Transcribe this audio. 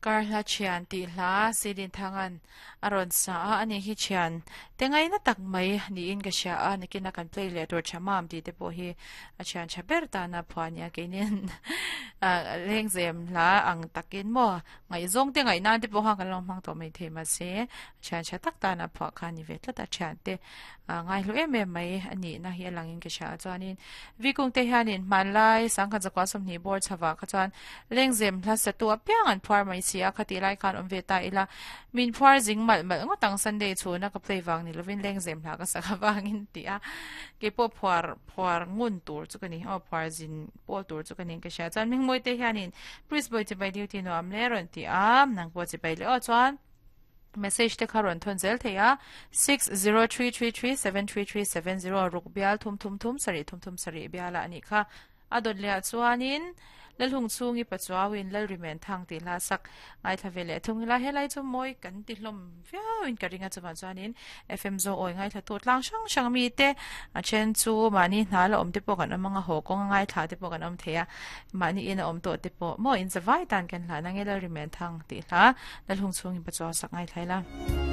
Karhla thian tih hla Sidinthanga'n a rawn sa a, ani hi thian te ngaina tak mai niin ka hria a, nakina kan play leh tur tha mam tih te pawh hi a thian tha ber tana phuah a nia, keinin lengzem hla ang takin maw ngaihzawng te ngaih nan te pawh khan kan lo hmang tawh mai thei mahse thian tha tak tana phuah kha a ni ve tlat a, thian te ngaihlu em em mai a nihna hi a langin ka hria a, chuanin Vikung te hianin hmanlai sangkhat zakua 20 bawr chhavah kha chuan Lengzem hla satu apiang an phuar mai si a, khatih lai khan awm ve ta ila, min phuar zing malh malh ngawt ang Sunday chhuna ka play vang ni lovin lengzem hla ka sak avangin ti a, keipawh phuar phuar ngun tur chu ka ni, aw phuar zin pawl tur chu ka ni ka hria chuan Hmingmawi te hianin Priest Boy chibai duty nuam le rawn ti a, nang pawh chibai leh aw chuan message te kha rawn thawn zel thei a, 6033373370 ruk bial thum thum thum sarih thum thum sarih bialah a nih kha. A dawt leh ah chuanin Lalhung chhungi Pachuauin Lalrimen thang tih hla sak ngaithla ve leh thung ila helai chu mawi kan ti hlawm viauin ka ring a chuvang chuanin FM Zo awi ngaithla tu tlang hrang hrang mi te a then chu mahni hna la awm te pawh kan awm anga haw kawnga ngaithla te pawh kan awm thei a mahni in a awm tawh te pawh maw in zavai tan kan hlan ange Lalrimen thang tih hla Lalhung chhungi Pachuau sak ngaithla ila.